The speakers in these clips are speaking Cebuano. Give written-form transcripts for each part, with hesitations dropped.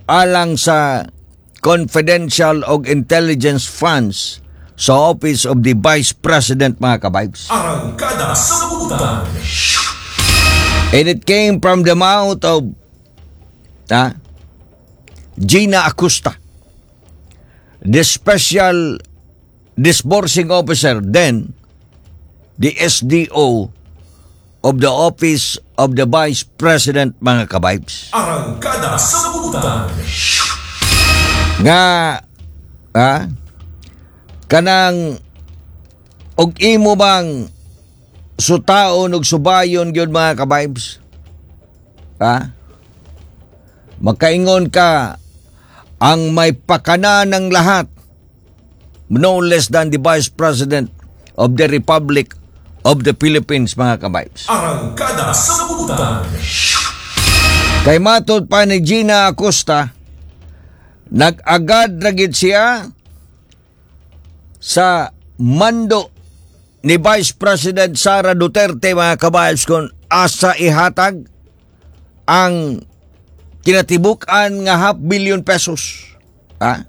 alang sa confidential og intelligence funds sa Office of the Vice President, mga kabibes. Arangkada sa Butang. And it came from the mouth of Gina Acosta, the special disbursing officer then, the SDO of the Office of the Vice President, mga kabibes. Arangkada sa Butang. Nga kanang og imo bang sutaon og subayon gyud, mga kabibes, ha, makaingon ka ang may pakana ng lahat, no less than the Vice President of the Republic of the Philippines, mga kabibes. Arangkada sa Butang. Kay matod pa ni Gina Acosta, nag-agad ra gid siya sa mando ni Vice President Sara Duterte, mga kabibes, kung asa ihatag ang kinatibuk-an nga half billion pesos. Ha?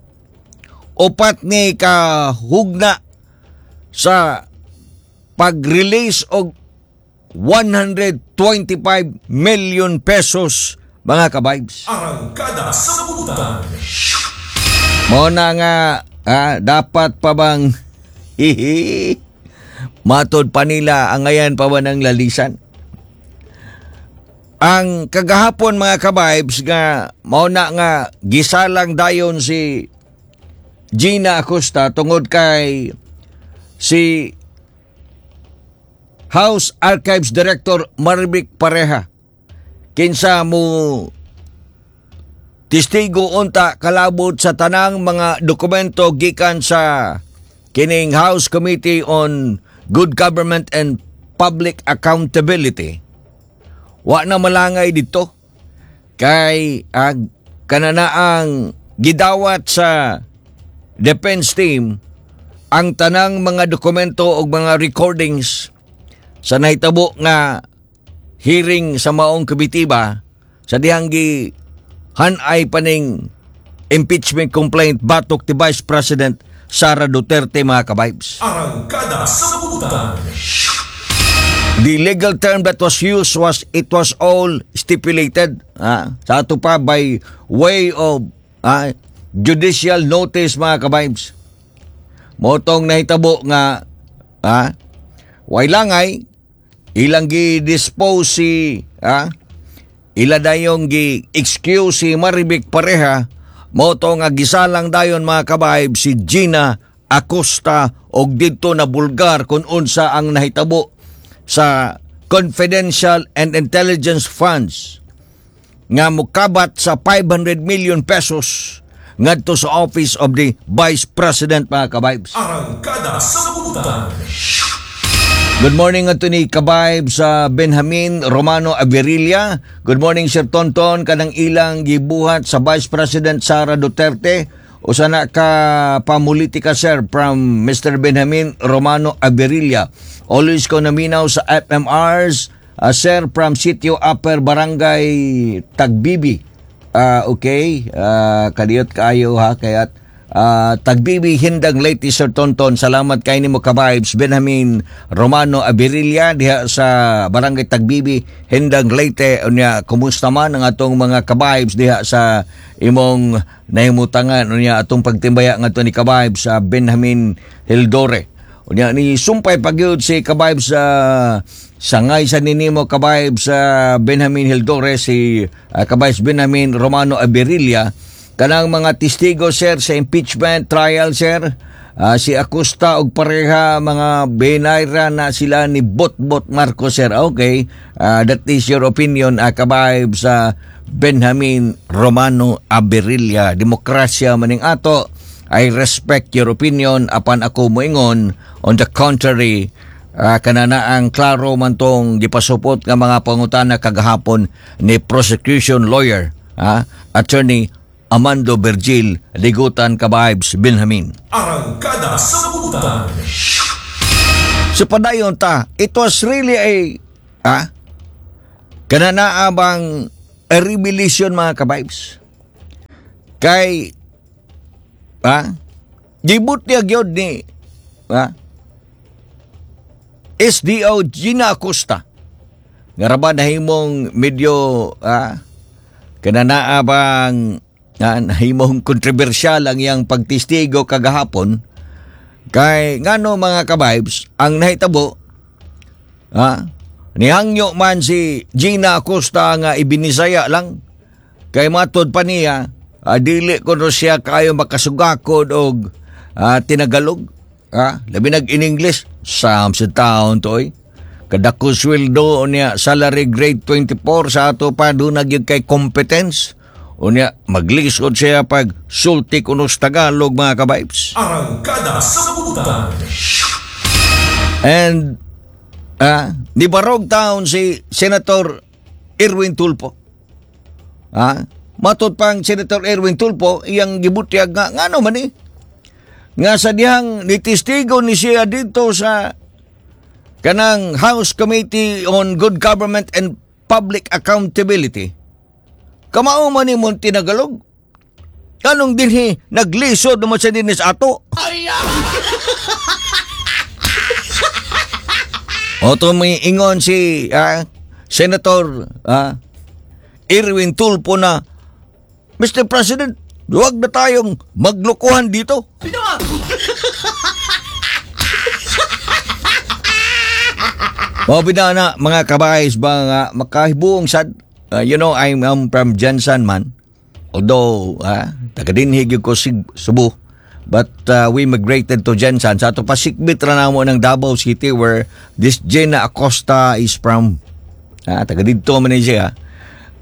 Upat ni kahugna sa pag-release og 125 million pesos, mga kabibes. Arangkada sa Butang. Mao na nga dapat pa bang hihi, matod pa nila angayan pa ba ng lalisan? Ang kagahapon, mga kabibes, nga mao na nga gisalang dayon si Gina Acosta tungod kay si House Archives Director Marvic Pareja, kinsa mo testigo unta kalabot sa tanang mga dokumento gikan sa kining House Committee on Good Government and Public Accountability. Wa na malangay dito kay kananaang gidawat sa defense team ang tanang mga dokumento ug mga recordings sa nahitabo nga hearing sa maong komitiba sa dihang gi hanay paning impeachment complaint batok ti Vice President Sara Duterte, mga kabibes. Arangkada sa Butang. The legal term that was used was it was all stipulated. Sa ato pa by way of judicial notice, mga kabibes. Mao tong nahitabo nga way langay ilang gi-dispose si ila dayong gi-excuse si Marivic Pareja. Mao to nga gisalang dayon, mga kabibes, si Gina Acosta og didto na bulgar kung unsa ang nahitabo sa confidential and intelligence funds nga mukabat sa 500 million pesos ngadto sa Office of the Vice President, mga kabibes. Arangkada sa Butang. Good morning ato ni Kabibes sa Benjamin Romano Averilla. Good morning, Sir Tonton, kanang ilang gibuhat sa Vice President Sara Duterte. Usa na ka pamulitika, sir, from Mr. Benjamin Romano Averilla. Always ko naminaw sa FMRs, sir, from Sitio Upper Barangay Tagbibi. Okay, kadiyot kaayo ha, kaya't Tagbibi, Hindang Leyte, Sir Tonton. Salamat kay nimo, Kabibes Benjamin Romano Averilla diha sa Barangay Tagbibi, Hindang Leyte. Unya kumusta man ang atong mga kabibes diha sa imong nahimutangan? Unya atong pagtimbaya ngadto ni Kabibes sa Benjamin Hildore. Unya ni sumpay pagyud si Kabibes sa sangay sa ninimo, Kabibes sa Benjamin Hildore, si Kabibes Benjamin Romano Averilla, kanang mga testigo, sir, sa impeachment trial, sir, si Acosta og Pareha mga benayra na sila ni Botbot Marcos, sir. Okay, that is your opinion, Kabibes sa Benjamin Romano Averilla. Demokrasya maning ato. I respect your opinion, apan ako moingon on the contrary, kanana ang klaro man tong gipasupot nga mga pangutana kagahapon ni prosecution lawyer Attorney Amando Virgil. Ligutan, Kabibes Benjamin. Arangkada sa Butang. So padayon ta, it was really a kanana bang a revelation, mga kabibes. Kay gibutyag gyud ni SDO Gina Acosta nga ra ba nahimong medyo kananaa bang nahimong kontrobersyal ang iyang pagtestigo kagahapon. Kay ngano, mga ka-vibes, ang nahitabo, nihangyo man si Gina Acosta nga ibinisaya lang kay matod pa niya, dili kuno siya kayo makasugakod og tinagalog, labi nag in English sa taon to oy. Kadako sweldo niya, salary grade 24, sa ato pa duna gyud kay competence. Unya maglisod siya pag sulti kuno sa Tagalog, mga ka-vibes. Arangkada sa Butan. And nibarog taon si Senator Erwin Tulfo. Matod pang Senator Erwin Tulfo, iyang gibutyag nga ngano man eh, nga sa dihang nitestigo ni siya dito sa kanang House Committee on Good Government and Public Accountability. Kamao man ni mong tinagalog. Anong dinhi naglisod naman siya dinhi sa ato? Oto may ingon si Senator Erwin Tulfo na, "Mr. President, huwag na tayong maglokohan dito." Mao na, mga kabayes ba nga makahibuong sad. I'm from GenSan man. Although, taga dinhi gyud ko Cebu. But we migrated to GenSan. Sa ato pasikbit ra namo ng Davao City where this Gina Acosta is from. Taga didto man ni siya.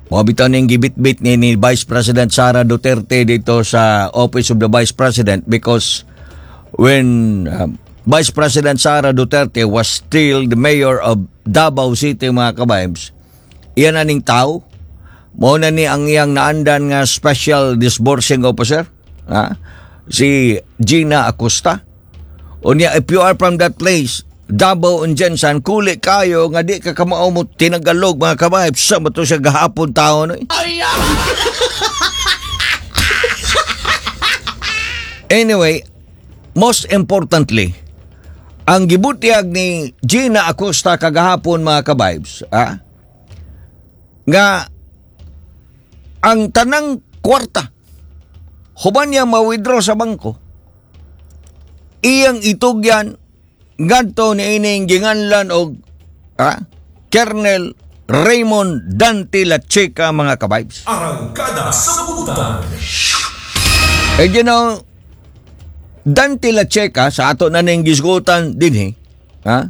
Mao bitaw ning gibitbit ni Vice President Sara Duterte dito sa Office of the Vice President because when Vice President Sara Duterte was still the mayor of Davao City, mga kabibes, iyan aning tao, mao na ni ang iyang naandan nga special disbursing officer, ha? Si Gina Acosta. Unya, if you are from that place, Davao and GenSan, kuli kayo nga di ka kamao mo tinagalog, mga kabibes, sa to siya gahapon tao no? Anyway, most importantly, ang gibutyag ni Gina Acosta kagahapon, mga kabibes, nga ang tanang kwarta human niya ma-withdraw sa bangko, iyang itugyan ngadto ni ining ginganlan og Colonel Raymond Dante Lachica, mga kabibes. Arangkada sa Butan. Eh, Dante Lachica, sa ato na ning gisgutan dinhi, ha?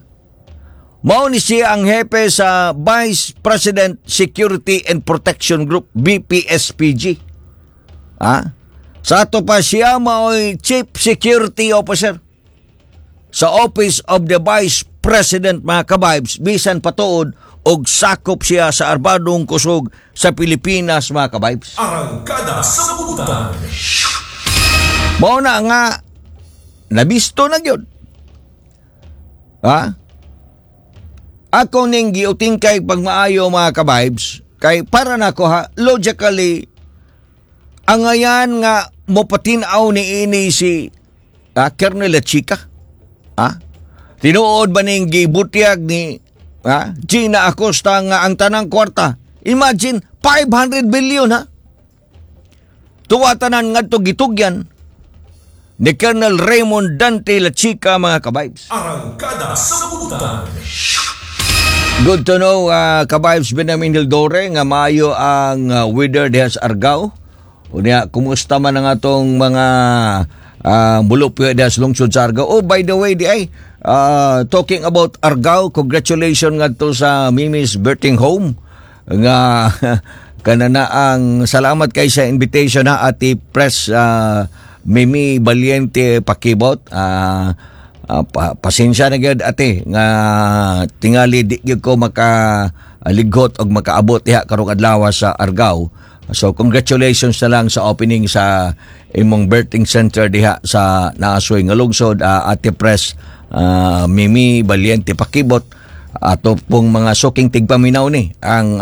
Mao ni siya ang hepe sa Vice President Security and Protection Group, VPSPG. Ha? Sa ato pa siya mao'y Chief Security Officer sa Office of the Vice President, mga kabibes, bisan patuod og sakop siya sa Armadong Kusog sa Pilipinas, mga kabibes. Arangkada sa Butan. Mao na nga nabisto na gyud. Ha? Ako ning giutingkay pagmaayo, mga kabibes, kay para nako ha, logically angayan nga mopatin-aw ni ini si Colonel Chica. Ha? Tinuod ba ning gibutyag ni Gina Acosta nga ang tanang kwarta? Imagine 500 billion ha. Tuwa tanan ngadto gitugyan ni Colonel Raymond Dante Lachica, mga kabibes. Arangkada sa Butan. Good to know, kabibes Benjamin Hildore, nga maayo ang weather diha sa Argao. Unya, kumusta man ang atong mga mulupyo diha sa lungsod sa Argao? Oh, by the way, di ay, talking about Argao, congratulations ngadto sa Mimi's Birthing Home nga kanana ang salamat kay sa invitation na Ate Press Mimi Valiente Pakibot. Pasensya na gyud, ate, nga tingali di gyud ko makalighot og makaabot diha karong adlaw sa Argao. So congratulations na lang sa opening sa imong birthing center diha sa Naasoy nga lungsod, Ate Press Mimi Valiente Pakibot. Ato pong mga suking tigpaminaw ni ang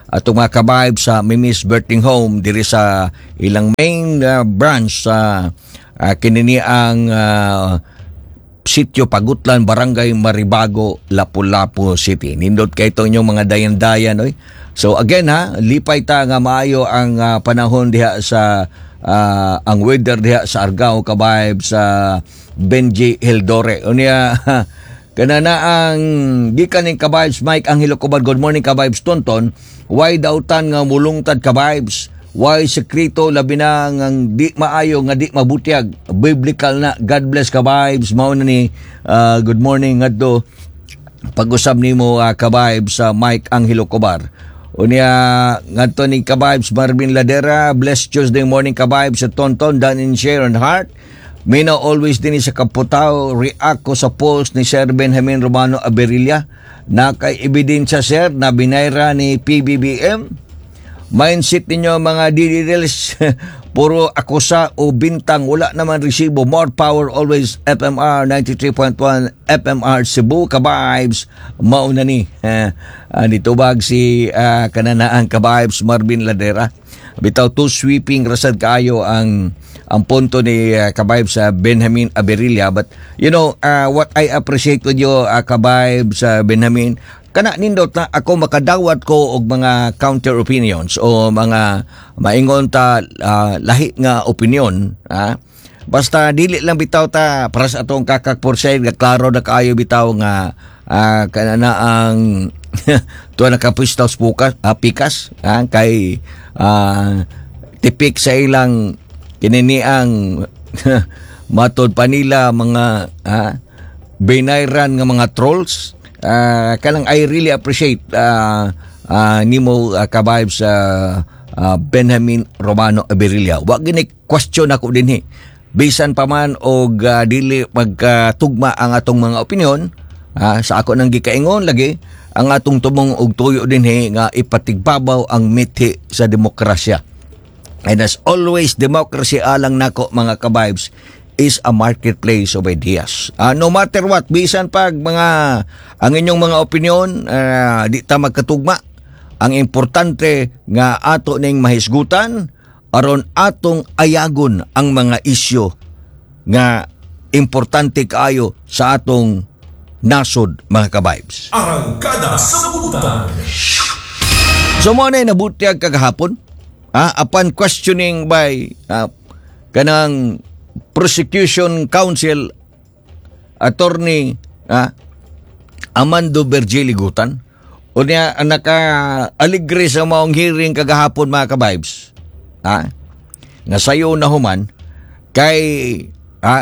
atong mga kabayb sa Mimis Birthing Home diri sa ilang main branch sa kinini ang Sitio Pagutlan, Barangay Maribago, Lapu-Lapu City. Nindot kay ito inyong mga dayan-dayan, oy. So again ha, lipay ta nga maayo ang panahon diha sa ang weather diha sa Argao, kabayb sa Benji Hildore. Unya kana na ang gikan ning Kabibes Mike Angelo Cobad. Good morning, Kabibes Tonton. Why dautan nga mulungtad, Kabibes? Why sekreto, labi na ngang di maayo nga di mabutyag? Biblical na. God bless, Kabibes. Mao na ni good morning ngadto pag-usab nimo, Kabibes sa Mike Angelo Cobar. Unya ngadto ni Kabibes Marvin Ladera, blessed Tuesday morning, Kabibes sa Tonton, Dan and Sharon Heart. Mina always din sa Kaputaw, react ko sa post ni Sir Benjamin Romano Aberilla. Nakay ebidensya, sir, na binayra ni PBBM. Mindset ninyo mga DDLs, puro akusa o bintang, wala naman resibo. More power always, FMR 93.1 FMR Cebu, Kabibes. Mauna ni. Nitubag si kananaan Kabibes Marvin Ladera. Bitaw too sweeping rasad kaayo ang punto ni Kabibes sa Benjamin Aberilla, but what I appreciate with you, Kabibes Benjamin, kana nindot na ako makadawat ko og mga counter opinions o mga maingon ta lahi nga opinion, ha? Basta dili lang bitaw ta para sa atong kakak porcel nga klaro na kaayo bitaw nga kana na ang tuwa nakapwistaw sa pukas, pikas, kay tipik sa ilang kinini ang matod pa nila mga binayran nga mga trolls. Kanang I really appreciate nimo, Kabibes sa Benjamin Romano Aberilla. Wa gini question ako dinhi, bisan pa man og dili magkatugma ang atong mga opinion. Sa ako nang gikaingon lagi ang atong tumong og tuyo dinhi nga ipatigbabaw ang mithi sa demokrasya. And as always, democracy alang nako, mga kabibes, is a marketplace of ideas. No matter what, bisan pag mga ang inyong mga opinion di ta magkatugma, ang importante nga ato ning mahisgutan aron atong ayagon ang mga isyu nga importante kaayo sa atong nasod, mga kabibes. Arangkada sa Butan. So mo na nabutyag kagahapon, upon questioning by kanang prosecution counsel Attorney Amando Virgil Ligutan. Unya ang naka aligre sa maong hearing kagahapon, mga kabibes. Nga sayo na human kay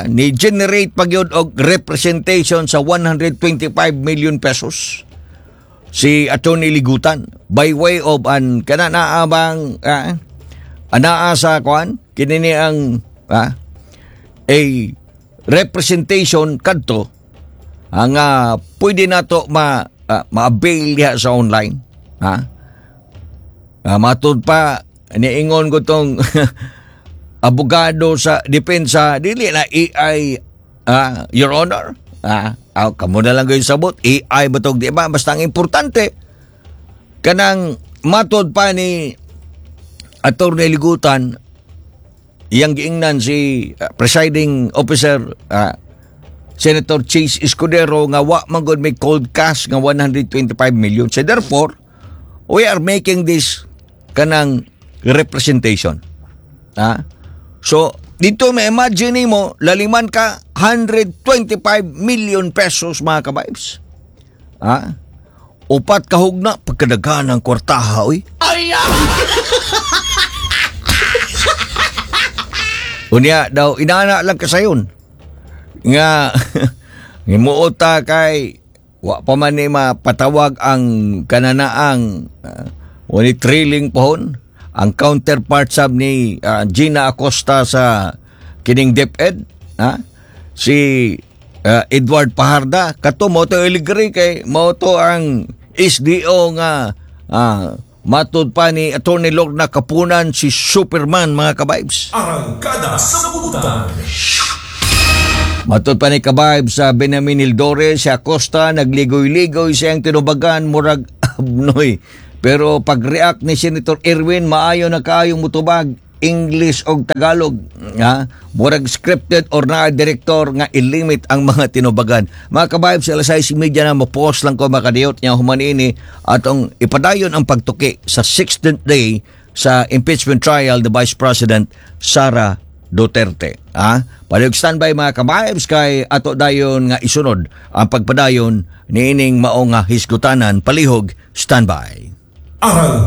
ni generate pa gyud og representation sa 125 million pesos si Attorney Ligutan by way of an kana naabang anaa sa kuan kinini ang a representation kadto ang pwede nato ma-avail diha sa online, ha. Matud pa niingon ko tong abogado sa depensa, dili na AI, Your Honor. Kamo na lang kayo sabot AI ba tog di ba, basta ang importante kanang matod pa ni Attorney Ligutan, iyang giingnan si presiding officer Senator Chase Escudero nga wa man gud may cold cash nga 125 million. So therefore, we are making this kanang representation. Ha? So, dito may imagine mo, laliman ka 125 million pesos, mga kabibes. Ha? Upat kahugna pagkadaghan ng kwartaha, oy. Unya daw inana lang kasayon nga ngimuot kay wa pa man ni mapatawag ang kananaang wani trailing pohon ang counterpart sab ni Gina Acosta sa kining DepEd, ha, si Edward Pajarda. Kato mo to iligri kay mao to ang SDO nga matud pa ni Attorney Lorna Kapunan si Superman, mga kabibes. Arangkada sa Butan. Matod pa ni Kabayb sa Benjamin Hildore, si Acosta nagligoy-ligoy siyang tinubagan, murag abnoy. Pero pag-react ni Senator Erwin, maayo na kaayong mutubag English og Tagalog. Ha? Murag scripted or naa direktor nga ilimit ang mga tinubagan. Mga kabayb, sa alas 6:30 na, mo-post lang ko makadiyot niya. Human ini atong ipadayon ang pagtuki sa 16th day sa impeachment trial the Vice President Sara Duterte. Ha? Palihog standby, mga kabibes, kay ato dayon nga isunod ang pagpadayon niining mao nga hisgutanan. Palihog standby. Arangkada.